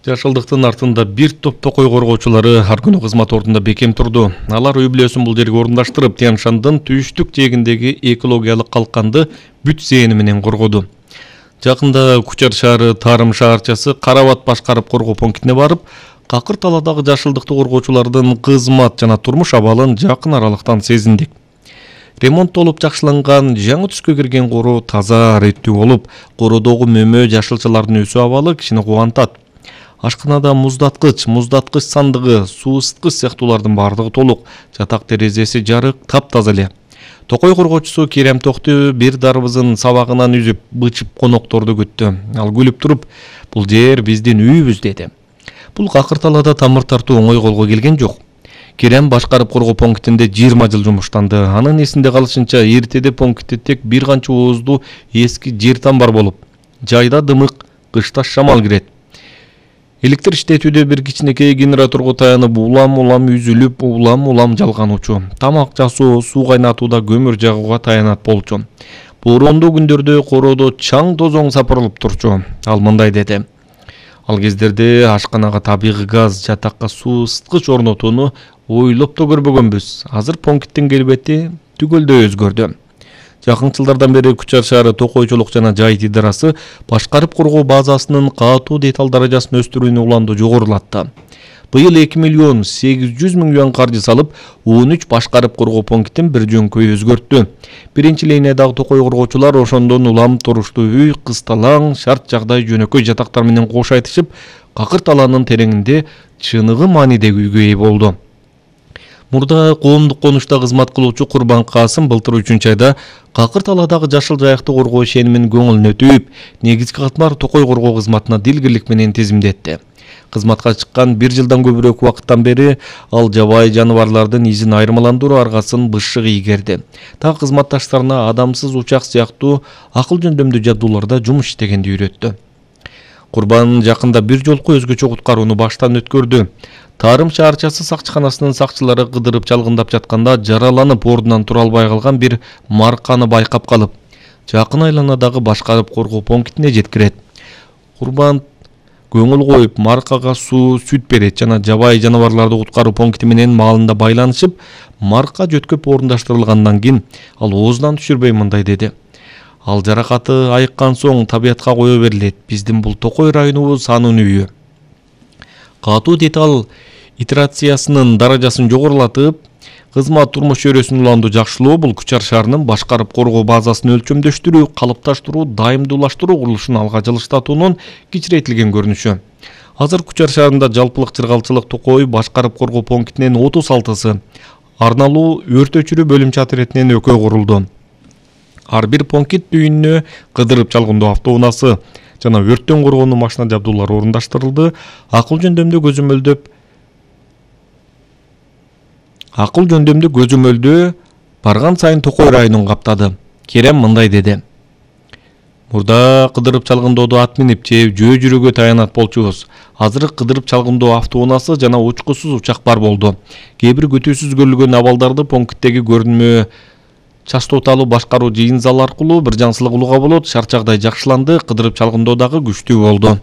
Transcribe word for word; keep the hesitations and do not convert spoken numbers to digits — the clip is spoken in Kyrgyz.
Жашылдыктын артында бир топ токой коргоочулары ар күнү кызмат ордунда бекем турду. Алар үй бүлөсүн бул жерге орундаштырып, Тянь-Шандын түштүк жээгиндеги экологиялык калканды бүт зээни менен коргоду. Жакында Кучар шаары Тарым шаарчасы Карабат башкарып коргоо пунктине барып, Какыр талаадагы жашылдыкты коргоочулардын кызмат жана турмуш абалын жакын аралыктан сезиндик. Ремонттолуп жакшыланган, жаңы түскө кирген короо таза, реттүү болуп, короодогу мөмө жашылчалардын өсүү абалы кишини кубантат. Ашканада муздаткыч, муздаткыч сандыгы, суу ысыткыч сыяктуулардын бардыгы толук, жатак терезеси жарык, таптаза эле. Токой коргоочусу Керем Токту бир дарбызын сабагынан үзүп, бычып конокторду күттү. Ал күлүп туруп, бул жер биздин үйүбүз деди. Бул Какыр талаада тамыр тартуу оңой колго келген жок. Керем башкарып коргоо пунктинде жыйырма жыл жумуштанды. Анын эсинде калышынча эртеде пунктте тек бир канча оозду эски жер тамбар болуп, жайда дымык, кышта шамал кирет. Электр иштетүүдө бир кичинекей генераторго таянып улам-улам үзүлүп, улам-улам жалгануучу. Тамак жасоо, суу кайнатууда көмүр жагууга таянат болчу. Бороондуу күндөрдө короодо чаң тозоң сапырылып турчу. Ал мындай деди. Ал кездерде ашканага табигый газ, жатакка суу ысыткыч орнотууну ойлоп да көрбөгөнбүз. Азыр пункттин келбети түгөлдөй өзгөрдү. Жакын жылдардан бери Кучар шаары токойчулук жана жайыт идарасы башкарып коргоо базасынын катуу деталь даражасын өстүрүүнү уланды жогорулатты. Быйыл эки миллион сегиз жүз миң юан каржы салып, он үч башкарып коргоо пунктин бир жөнкөй өзгөрттү. Биринчи линиядагы токой коргоочулар ошондон улам туруштуу үй, кысталаң, шарт жагдай жөнөкөй жатактар менен кош айтышып, Какыр талаанын тереңинде чыныгы маанидеги үйгө ээ болду. Мурда коомдук конушта кызмат кылуучу Курбан Касым былтыр үчүнчү айда Какыр талаадагы жашыл жаякты коргоо ишенимин көңүлүнө түйүп, негизги катмар токой коргоо кызматына дилгирлик менен тизимдетти. Кызматка чыккан бир жылдан көбүрөөк убакыттан бери ал жабайы жаныбарлардын изин айырмаландыруу аргасын бышык ийгерди. Так кызматташтарына адамсыз учак сыяктуу акыл жөндөмдүү жабдууларда жумуш иштегенди үйрөттү. Курбан жакында бир жолку өзгөчө куткарууну баштан өткөрдү. Тарым шаарчасы сакчыканасынын сакчылары кыдырып чалгындап жатканда жараланып ордунан тура албай калган бир марканы байкап калып, жакын айланадагы башкарып коргоо пунктине жеткирет. Курбан көңүл коюп, маркага суу, сүт берет жана жабайы жаныбарларды куткаруу пункти менен маалында байланышып, марка жөткөп орундаштырылгандан кийин ал оозунан түшүрбөй мындай деди. Ал жаракаты айыккан соң табиятка кое берилет. Биздин бул токой районубуз анын үйү. Катуу деталь итерациясынын даражасын жогорулатып, кызмат турмуш чөйрөсүн уланду жакшылоо бул Кучар шаарынын башкарып коргоо базасын өлчөмдөштүрүү, калыпташтыруу, дайымдуулаштыруу курулушун алга жылыштатуунун кичирейтилген көрүнүшү. Азыр Кучар шаарында жалпылык чыргалчылык токой башкарып коргоо пунктинин отуз алтысы, арналуу өрт өчүрүү бөлүмчө отрядинен экөө курулду. Ар бир пункт үйүнө кыдырып чалгындоо автоунаасы жана өрттөн коргоонун машина жабдуулары орундаштырылды. Акыл жөндөмдүү көзөмөлдөп Акыл жөндөмдүү көзөмөлдөө барган сайын токой районун каптады. Керем мындай деди. Мурда кыдырып чалгындоодо ат минип же жөө жүрүүгө таянат болчубуз. Азыр кыдырып чалгындоо автоунаасы жана учкусуз учак бар болду. Кээ бир күтүүсүз көрүлгөн абалдарды пункттеги көрүнмө частоталуу башкаруу жыйын залы аркылуу бир жансылык улууга болот. Шарт жагдай жакшыланды, кыдырып чалгындоо дагы күчтүү болду.